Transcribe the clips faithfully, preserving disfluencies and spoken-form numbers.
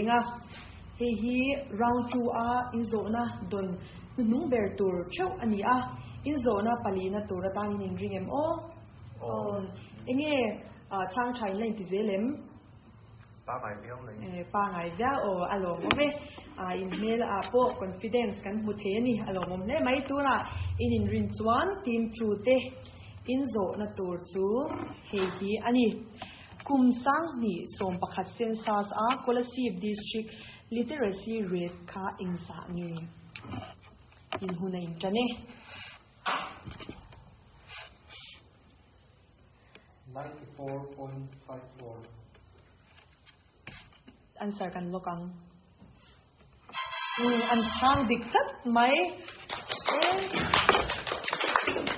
A, hei hi round two a inzawhna dawn hnuhnung ber tur theuh a ni a, inzawhna palina tur atan in inring em aw? Aw. Enge chhang tha in la inti zel em? Pangai viau mai. E, pangai viau aw, a lawmawm e. In hmel ah pawh confidence kan hmu thei a ni, a lawmawm hle mai. Tunah in inrin chuan team two te inzawhna tur chu hei hi a ni. Kum sanghnih sawm pakhat census a Kolasib District Literacy Rate kha engzah nge? In hun a intan e. Ninety four point five four. Answer kan lawk ang. Umm an chhang dik tlat mai.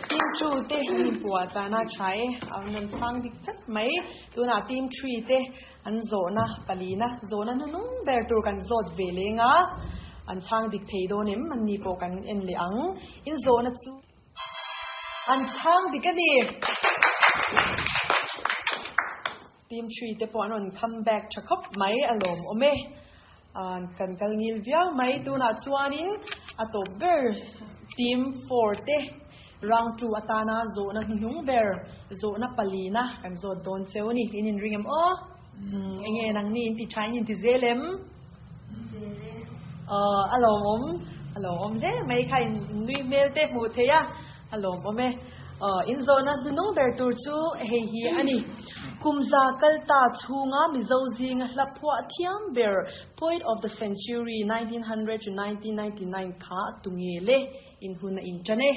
Team two te an inpuah chana tha e. An rawn chhang dik tlat mai. Tunah team three te an zawhna palina zawhna hnuhnung ber tur kan zawt ve leng a. An chhang dik thei dawn em? Anni pawh kan en leh ang. In zawhna chu an chhang dik a ni. Team three te pawh an rawn come back tha khawp mai a lawmawm e. Kan kal ngil viau mai. Tunah chuanin a tawp ber team four te round two atana zawhna hnuhnung ber zawhna palina kan zawt dawn cheu a ni. In inring em aw? Enge nangni in ti tha in inti zel em? Aw a lawmawm a lawmawm hle mai kha in nui hmel te hmuh theih a a lawmawm e. Aw in zawhna hnuhnung ber tur chu hei hi a ni. Kum za kal ta chhunga Mizo zinga hla phuah thiam ber Poet of the Century nineteen hundred to nineteen ninety nine kha tu nge le in hun a intan e.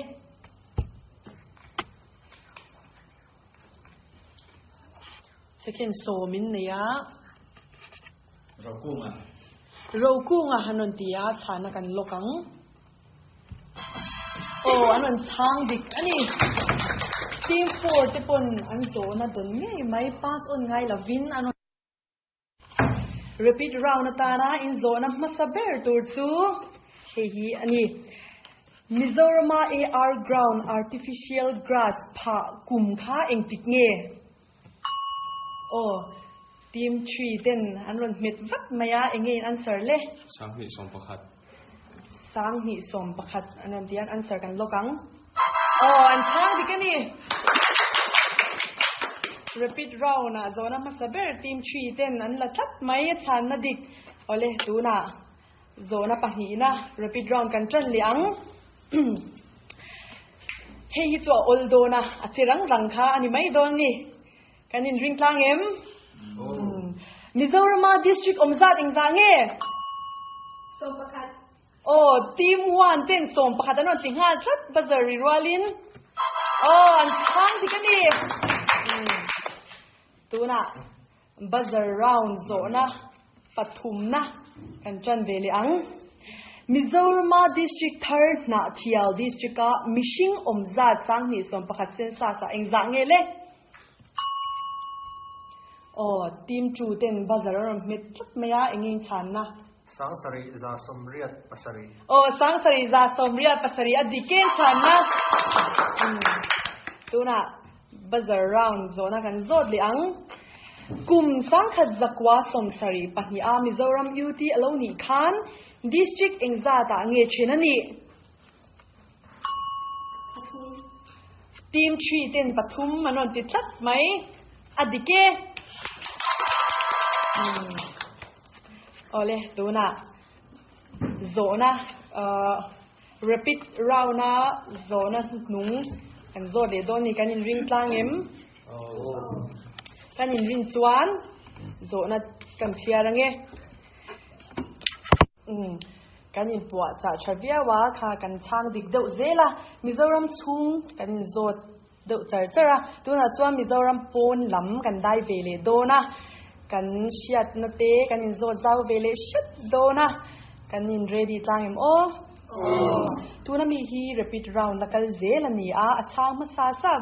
Second sawm in nei a. Rokunga. Rokunga han rawn ti a, chhana kan lawk ang. Aw, an rawn chhang dik a ni. Team four te pawn an zawhna dawn ngei mai, pass on ngai lovin an rawn. Rapid round atana inzawhna hmasa ber tur chu hei hi a ni. Mizorama A R ground artificial grass phah kum kha engtik nge? Aw, team three ten an rawn hmet vat mai a, enge in answer le? Sanghnih sawm pakhat. Sanghnih sawm pakhat an rawn ti a, an answer kan lawk ang. Aw, an chhang dik a ni. Rapid round ah zawhna hmasa ber team three ten an la tlat mai, a chhanna dik. Awle, tunah zawhna pahnihna rapid round kan tan leh ang. Hei hi chu a awl dawn a, a chi rang rang kha a ni mai dawn ni. Kan inring tlang em? Mizorama district awm zat engzah nge? Sawm pakhat. Aw, team one ten sawm pakhat an rawn ti nghal tlat buzzer ri rualin. Aw, an chhang dik a ni. Tunah buzzer round zawhna pathumna kan tan ve leh ang. Mizorama district thar Hnahthial district a mihring awm zat sanghnih sawm pakhat census ah engzah nge le? Aw, team two ten buzzer a rawn hmet tlat mai a, eng nge chhanna? Sangsarih za sawmriat pasarih. Aw, sangsarih za sawmriat pasarih a dik em chhanna? Tunah buzzer round zawhna kan zawt leh ang. Kum sangkhat zakua sawmsarih pahnih a Mizoram U T a lo nih khan district engzat ah nge then a nih? Pathum. Team three ten pathum an rawn ti tlat mai. A dik e. Awle, tunah zawhna rapid round a zawhna hnung kan zawt leh dawn ni kan inring tlang em? Kan inrin chuan zawhna kan chhiar ange. Umm kan inpuah chah tha viau a, kha kan chhang dik deuh zel a, Mizoram chhung kan inzawt deuh char char a, tunah chuan Mizoram pawn lam kan dai ve leh dawn a, kan hriatna te kan inzawt zau ve leh hret dawn a, kan in ready tlang em aw? Tuna mi hi rapid round la kal zel a ni a, a chhang hmasa sa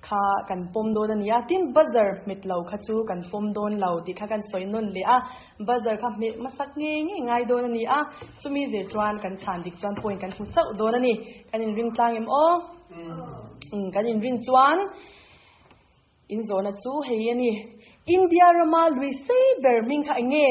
kha kan pawm dawn a ni a, tin buzzer hmet lo kha chu kan pawm dawn lo tih kha kan sawi nawn leh a, buzzer kha hmet hmasak ngei ngei ngai dawn a ni a, chumi zir chuan kan chhan dik chuan point kan hmu chauh dawn a ni, kan inring tlang em aw? Umm kan inrin chuan in zawhna chu hei a ni, India rama lui sei ber hming kha eng nge?